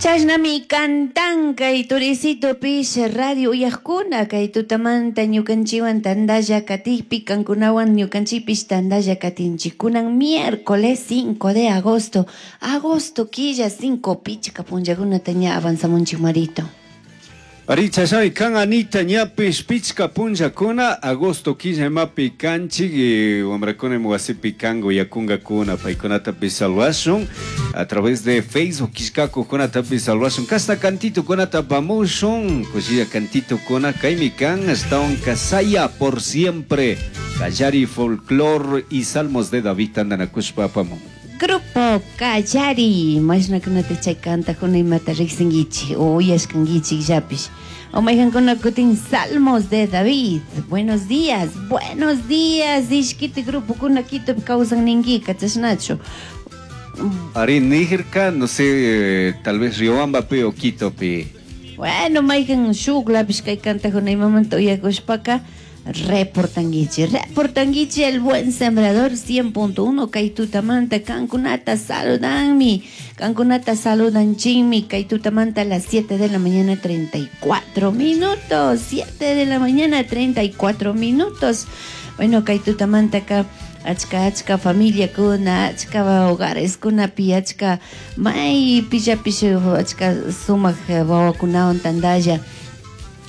Chashnami cantan kay turicitopish radio uyajkuna kay tutamanta ñukanchiwan tandalla katikpi kankunawan ñukanchikpish tandalla katinchik. Kunan miércoles 5 de agosto, agosto killa 5 pichka punllakunata ña avanzamunchik, Marito. Ari, chashnami kan, Anita, ñapish pichka punllakuna agosto killa imapi kanchik, wamrakuna ima wasipi kan uyakunkakuna, paykunatapish salvashun a través de Facebook killkakuqkunatapish salvashun, kashna cantitukunata apamushun, kushilla cantitukuna kaymi kan, ashtawan Saya por siempre, Kallari Folklore y Salmos de David tandanakushpa apamun. Grupo Kallari, mashnakunata chay cantajuna imata riqsinkichik o uyashkankichik llapish. O mayqankuna kutin Salmos de David. Buenos días, buenos días, ishkiti grupokuna Quitopi kawsan ninkika, chashnachu? Ari, nirka, no sé, tal vez Riobambapi o Quitopi. Bueno, mayqan shuklapish kay cantajuna imamanta uyakushpaka reportanguichi, reportanguichi. El Buen Sembrador 100.1 kay tutamanta kankunata saludanmi, kankunata saludanchinmi kay tutamanta a las 7 de la mañana 34 minutos, 7 de la mañana 34 minutos. Bueno, kay tutamanta ka achka achka familia kuna, achka hogares kunapi, achka may pillapish achka sumak wawakunawan tandalla.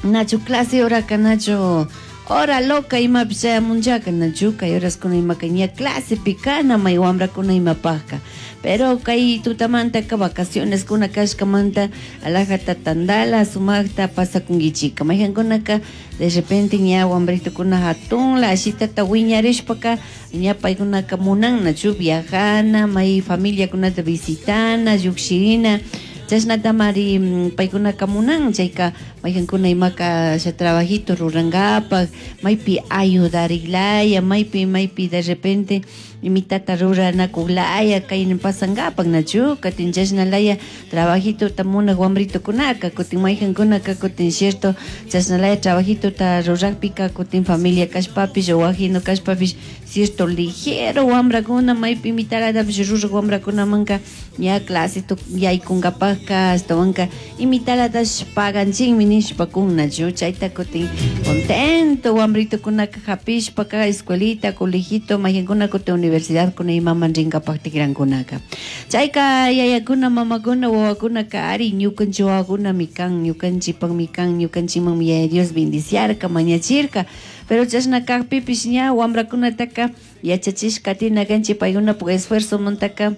Nachu clase horaka, nachu hora loca imapish chayamunchaka, nachu kay horaskuna imaka ña clasepi kana may wamrakuna imapajka. Pero kay tutamantaka vacaciones kuna kashkamanta alajata tandala sumakta pasakunkichika. Mayqankunaka de repente ña wambritukuna hatunla ashitata wiñarishpaka ña paykunaka munan nachu viajana, may familiakunata visitana, llukshirina. Chashnatamari paykunaka munan, chayka mayqankuna imaka sha trabajito rurankapak, maypi ayudariklaya, maypi maypi de repente imitata ruranakuklaya kay pasankapak nachu, katin chashnalaya trabajitota munak wambritukunaka, kutin mayqankunaka kutin cierto chashnalaya trabajitota rurakpika kutin familia kashpapish o wajino kashpapish cierto ligero wambrakuna maypi imitalatapish rurak wambrakunamanka ña clase yaykunkapakka ashtawanka imitalatash paganchinmi nishpa kunnachu, chayta kutin contento wambritukunaka hapishpaka escuelita, colegito, mayqankuna kutin universidad kuna imaman rinkapak tikrankunaka. Chayka yayakuna, mamakuna, wawakunaka ari ñukanchik wawakunami kan, ñukanchikpakmi kan, ñukanchikmanmi Yaya Dios bendiciarka, mañachirka. Pero chashna kakpipish ña wambrakunataka yachachishka katina kanchik paykunapak esfuerzomantaka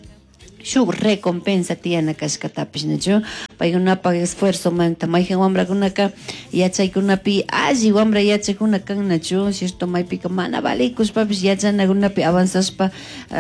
shuk recompensa tiyana kashkatapish, nachu paykunapak esfuerzomanta. Mayqan wambrakunaka yachaykunapi alli wambra yachakuna kan, nachu cierto maypika mana valikushpapish yachanakunapi avanzashpa,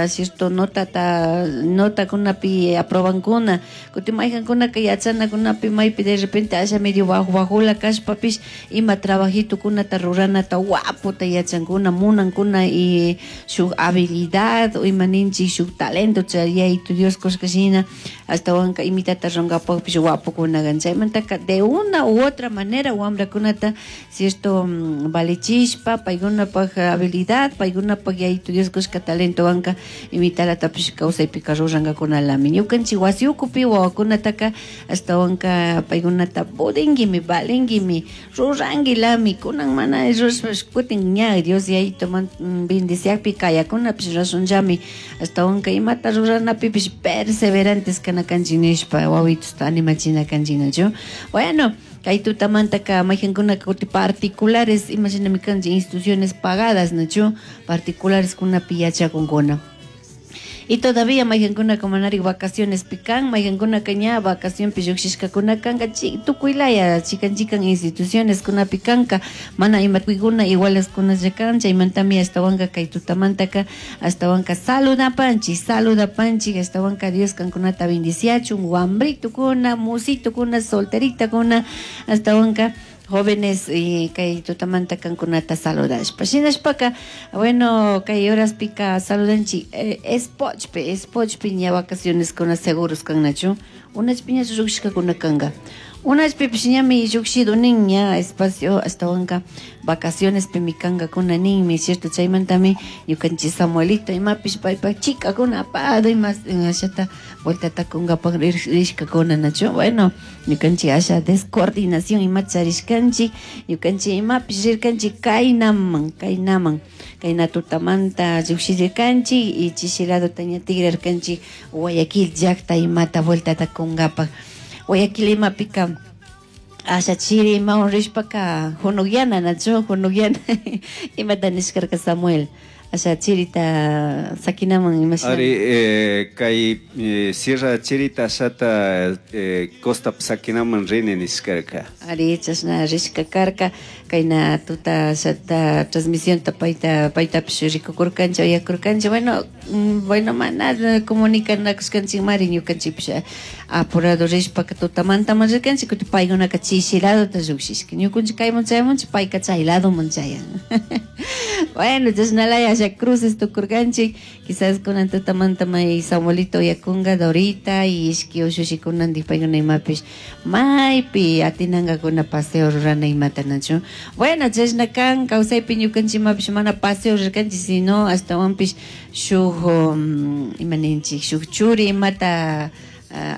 cierto notata notakunapi aprobankuna. Kutin mayqankunaka yachanakunapi maypi de repente asha medio bajo bajula kashpapish ima trabajitukunata ruranata waputa yachankuna, munankuna y shuk habilidad o ima ninchik shuk talento chay Yayitu Dios kushka shina ashtawanka imitata runkapakpish wapukuna kan. Chaymantaka de una u otra manera wambrakunata cierto valichishpa paykunapak habilidad, paykunapak Yayitu Dios kushka talentowanka imitalatapish kawsaypika rurankakunalami. Ñukanchik wasi ukupi wawakunataka ashtawanka paykunata pudinguimi, valinguimi, ruranguilami, kunan mana rurashpash kutin ña Dios Yayitu bendiciakpi kayakunapish rurashunllami, ashtawanka imata ruranapipish perseverantes kana kanchik nishpa wawitusta animachina kanchik, nachu. Bueno, kay tutamantaka mayqankunaka kutin particulares imashinami kanchik instituciones pagadas, nachu particulares kunapi yachakunkuna. Y todavía mayqankunaka manarik vacaciones pican, mayqankunaka ña vacacionpi llukshishkakuna kanka, tukuylaya chikan chikan instituciones kunapi kanka, mana ima tukuykuna iguales kunalla kan. Chaymantami ashtawanka kay tutamantaka ashtawanka saludapanchik, saludapanchik, ashtawanka Dios kankunata bendiciachun, wambritukuna, musitukuna, solteritakuna, ashtawanka jóvenes y kay tutamanta kankunata saludashpa. Shinashpaka, bueno, kay horaspika saludanchik, espochpi, espochpi ña vacaciones kuna seguros kannachu, unachpi ña llukshishkakuna kanka. Unashpipish ñami llukshidu nin ña espacio ashtawanka vacacionespimi kankakuna ninmi, cierto? Chaymantami ñukanchik Samuelito imapish paypak chikakuna apado ima ashata vueltata kunkapak rishkakuna, nachu? Bueno, ñukanchik asha descoordinación ima charishkanchik, ñukanchik imapish rirkanchik kaynaman, kaynaman, kayna tutamanta llukshirkanchik y chishi ladota ña tigrarkanchik Guayaquil llakta imata vueltata kunkapak. Guayaquil imapika asha chiri imawan rishpaka hunukyana, nachu? Hunukyana imata nishkarka Samuel, asha chirita sakinaman imashina. Ari, kay sierra chirita ashata costa sakinaman rini nishkarka. Ari, chashna rishka karka, kayna tuta ashata transmisionta payta paytapish rikukurkanchik, uyakurkanchik. Bueno, bueno, mana comunicanakushkanchikmari, ñukanchikpish apurado rishpaka tutamantama rirkanchik, kutin paykunaka chishi ladota llukshishka, ñukunchik kayman chayamunchik, payka chay ladoman chayan. Bueno, chashnalaya asha cruces tukurkanchik. Quizás kunan tutamanta may Samuelito uyakunga, Dorita y ishki ushushikunantik, paykuna imapish maypi atinankakuna paseo rurana imata, nachu? Bueno, chashna kan kawsaypi, ñukanchik imapish mana paseo rirkanchik, sino ashtawanpish shuk ima ninchik, shuk churi imata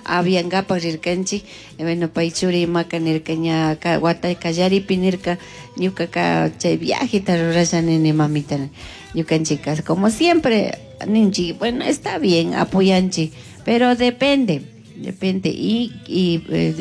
aviankapak rirkanchik. Bueno, pay churi imaka nirka ña wata kallaripi nirka, ñukaka chay viajeta rurasha nini mamita. Ñukanchika como siempre ninchik, bueno, está bien, apoyanchik, pero depende, depende y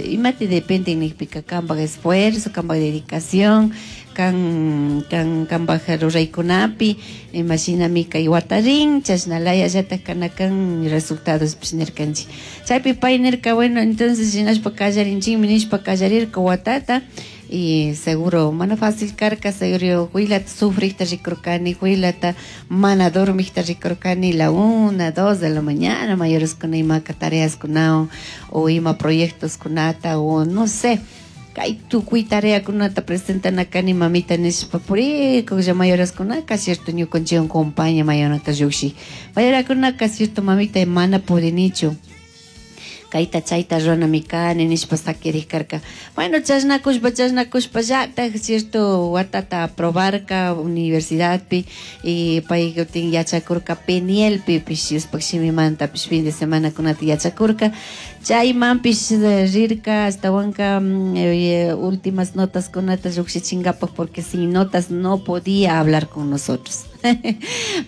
imati depende nikpika kanpak esfuerzo, kanpak dedicación, kan kan kanpak ruraykunapi, imashinami kay wata rin, chashnalayallatak kana kan resultados nirkanchik. Chaypi pay nirka, bueno, entonces shinashpa kallarinchikmi nishpa kallarirka watata y seguro mana fácil karka, seguro huilata sufrikta rikurkani, huilata mana dormikta rikurkani, la 1, 2 de la mañana, mayoreskuna imaka tareaskunawan o ima proyectoskunata o no sé, kay tukuy tareakunata presentana kani mamita nishpa purikuklla mayoraskunaka, cierto, ñukanchikwan compaña mayonata llukshi mayorakunaka, cierto, mamita mana pudinichu, kayta chayta ruranami kani nishpa sakirik karka. Bueno, chashnakushpa chashnakushpallatak, cierto, watata aprobarka universidadpi y pay kutin yachakurka Penielpipish, Dioshpak shimimantapish fin de semanakunata yachakurka, chaymanpish rirka ashtawanka últimas notas kunata llukshichinkapak, porque sin notas no podía hablar con nosotros.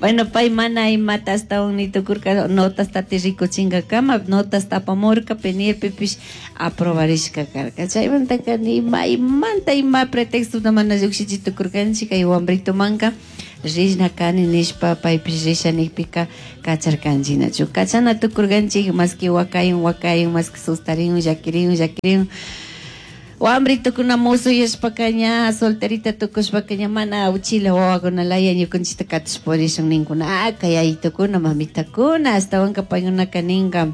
Bueno, pay mana imata ashtawan ni tukurka, notas tati rikuchinkakama notas tapamurka, Penielpipish aprobarishka karka. Chaymantaka ni maymanta ima pretextota mana llukshichi tukurkanchik kay wambritomanka rishna kani nishpa paypish risha nikpika kacharkanchik, nachu? Kachana tukurkanchik, maski wakayun wakayun, maski sustarin llakirin llakirin. Wambritukuna musuyashpaka ña solterita tukushpaka ña mana uchila wawakunalaya ñukanchikta katish purishun ninkuna, ah, kay yayitukuna mamitakuna, ashtawanka paykunaka ninka,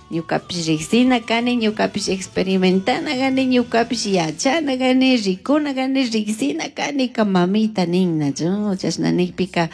ñukapish riksina kani, ñukapish experimentana kani, ñukapish yachana kani, rikuna kani, riksina kani ka mamita nin, nachu? Chashna nikpika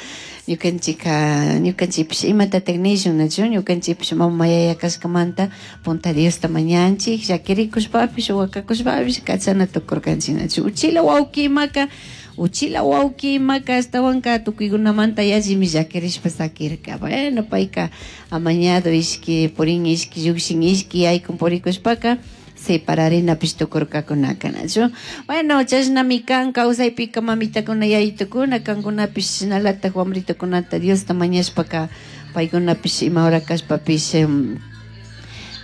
ñukanchika ñukanchikpish imatatak nishun, nachu? Ñukanchikpish mama yaya kashkamanta punta Diosta mañanchik, llakirikushpapish wakakushpapish kachana tukurkanchik, nachu? Uchila wawki imaka, uchila wawki imaka ashtawanka tukuykunamanta yallimi llakirishpa sakirka. Bueno, payka amañado ishki purin, ishki llukshin, ishki yaykun purikushpaka separarinapish tukurkakunaka, nachu? Bueno, chashnami kan kawsaypika mamitakuna yayitukuna, kankunapish shinalatak wambritukunata Diosta mañashpaka paykunapish ima hora kashpapish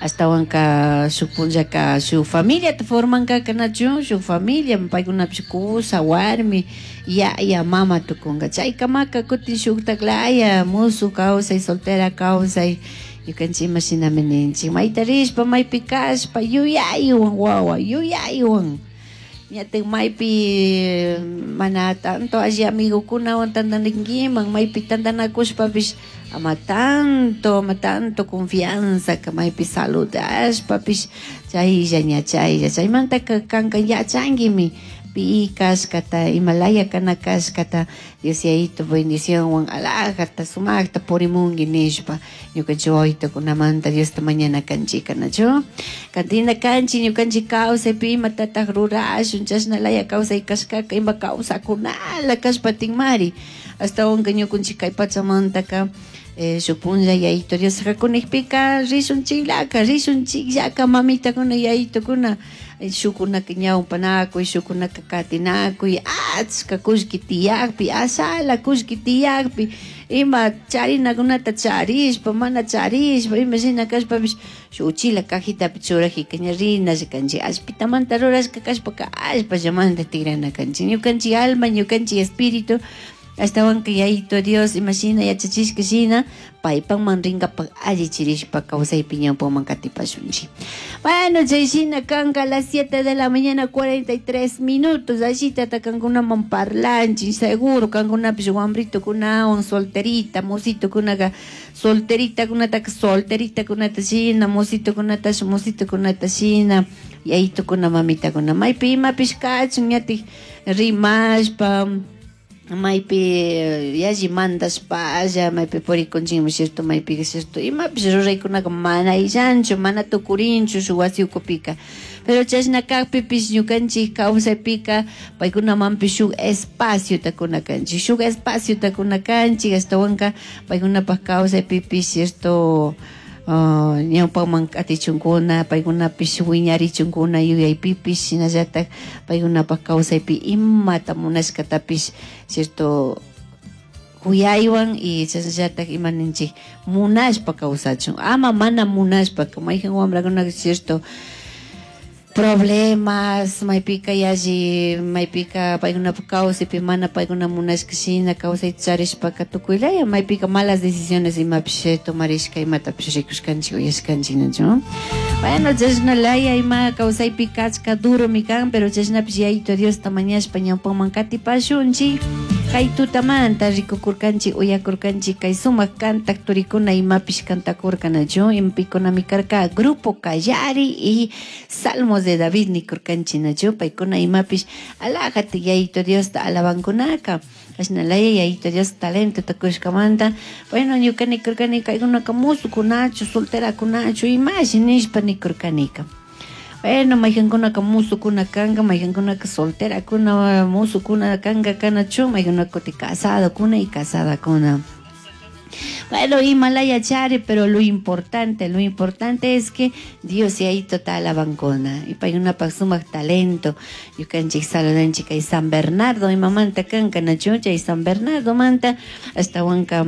ashtawanka shuk punllaka shuk familiata formankaka, nachu? Shuk familia paykunapish kusa warmi yaya mama tukunka. Chaykamaka kutin shuktaklaya musu kawsay, soltera kawsay. Ñukanchik ima shinami ninchik, mayta rishpa maypi kashpa yuyaywan wawa yuyaywan, ñatak maypi mana tanto alli amigukunawan tantanakinkiman, maypi tantanakushpapish ama tanto confianza ka maypi saludashpapish chaylla ña chaylla chaymantaka kanka yachankimi. pi kashkata, imalaya kana kashkata, Dios Yayito bendicionwan alajata sumaqta purimunki nishpa ñukanchik wawitukunamanta Diosta mañana kanchika, nachu? Katina kanchik ñukanchik kawsaypi imatataq rurashun, chashnalaya kawsay kashkaka ima kawsakunala kashpatinmari, ashtawanka ñukanchik kay pachamantaka shuk punlla Yayito Dios hakunijpika rishunchikllaka, rishunchikllaka mamitakuna yayitukuna, shukunaka ñawpanakuy, shukunaka katinakuy, achka kullki tiyakpi, ashala kullki tiyakpi, ima charinakunata charishpa, mana charishpa, ima shina kashpapish shuk uchila cajitapi churajika ña rinalla kanchik, allpitamanta rurashka kashpaka allpallamanta tigrana kanchik, ñukanchik alma, ñukanchik espíritu, ashtawanka Yayito Dios ima shina yachachishka shina paypakman rinkapak allichirishpa kawsaypi ñawpaman katipashunchik. Bueno, chay shina kanka a las 7 de la mañana 43 minutos, allitata kankunaman parlanchik, seguro kankunapish wambritukunawan solterita, mositukunaka solteritakunataka solteritakunata shina, mositukunatash mositukunata shina, yayitukuna mamitakuna maypi imapish kachun ñatik rimashpa, maypi yalli mandashpalla, maypi purikunchikmi, cierto, maypi cierto, imapish ruraykunaka mana illanchu, mana tukurinchu shuk wasi ukupika, pero chashna kakpipish ñukanchik kawsaypika paykunamanpish shuk espaciota kuna kanchik, shuk espaciota kuna kanchik, ashtawanka paykunapak kawsaypipish cierto, ñawpaman katichunkuna, paykunapish wiñarichunkuna yuyaypipish, shinallatak paykunapak kawsaypi imata munashkatapish cierto kuyaywan y chashnallatak ima ninchik munashpa kawsachun, ama mana munashpa, mayjan wambrakunaka cierto problemas, maypika yalli, maypika paykunapak kawsaypi mana paykuna munashka shina kawsayta charishpaka tukuylaya maypika malas decisiones imapish tomarishka imatapish rikushkanchik uyashkanchik, nachu? Bueno, chashnalaya ima kawsaypi kachka duromi kan, pero chashnapish Yayito Diosta mañashpa ñawpaman katipashunchik. Kay tutamanta rikukurkanchik uyakurkanchik kay sumak kantak turikuna imapish kantakurka, nachu? Imapikunami karka Grupo Kallari y Salmos de David nikurkanchik, nachu? Paykuna imapish alajata Yayito Diosta alabankunaka, ashnalaya Yayito Dios talentota kushkamanta. Bueno, ñuka nikurkani kaykunaka musukunachu, solterakunachu, imashi nishpa nikurkanika. Bueno, mayjankunaka musukuna kanka, mayjankunaka solterakuna, musukuna kanka kanachu, mayjankunaka kuti casadokuna y casadakuna. Bueno, imalaya chari, pero lo importante es que Dios Yayito ta alabankuna. Y paykunapak sumak talento. Ñukanchik saludanchik kay San Bernardo, imamanta kanka nachu, chay San Bernardo manta, ashtawanka,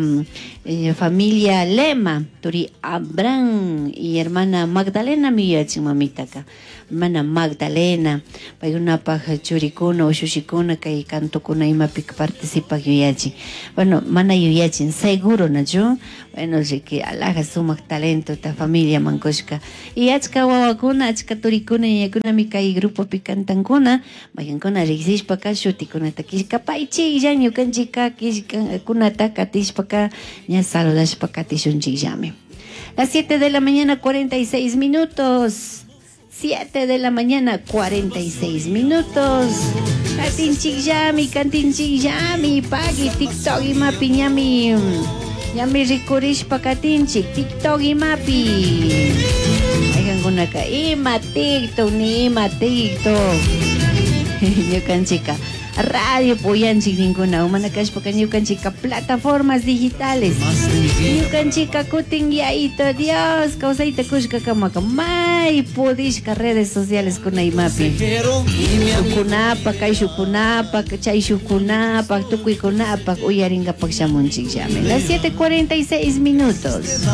familia Lema, turi Abraham y hermana Magdalena miyachin mamitaka. Hermana Magdalena, paykunapak churikuna, ushushikuna, kay kantokuna imapika participak yuyachin. Bueno, mana yuyachin, seguro nachu. Bueno, que alaja sumak talento ta familia mankushka. Y achka wawakuna, achka turikuna, yayakunami kay grupopi kantankuna, maykankuna riksishpaka shutikunata killkapaychiklla, ñukanchikka killkakunata katishpaka ña saludashpa katishunchikllami. Las 7 de la mañana 46 minutos. 7 de la mañana 46 minutos. Katinchikllami, kantinchikllami, pagui, TikTok imapi ñami. Ñami rikurishpa katinchik, TikTok imapi. Aykankunaka ima TikTok ni ima TikTok. Ñukanchika radio puyanchik ninkuna, mana kashpaka ñukanchika plataformas digitales. Ñukanchika kutin Yayito Dios kawsayta kushka kamaka may pudishka redes sociales kuna imapi. Shukunapak, kayshukunapak, chayshukunapak, tukuykunapak uyarinkapak shamunchikllami. Las 7:46 minutos.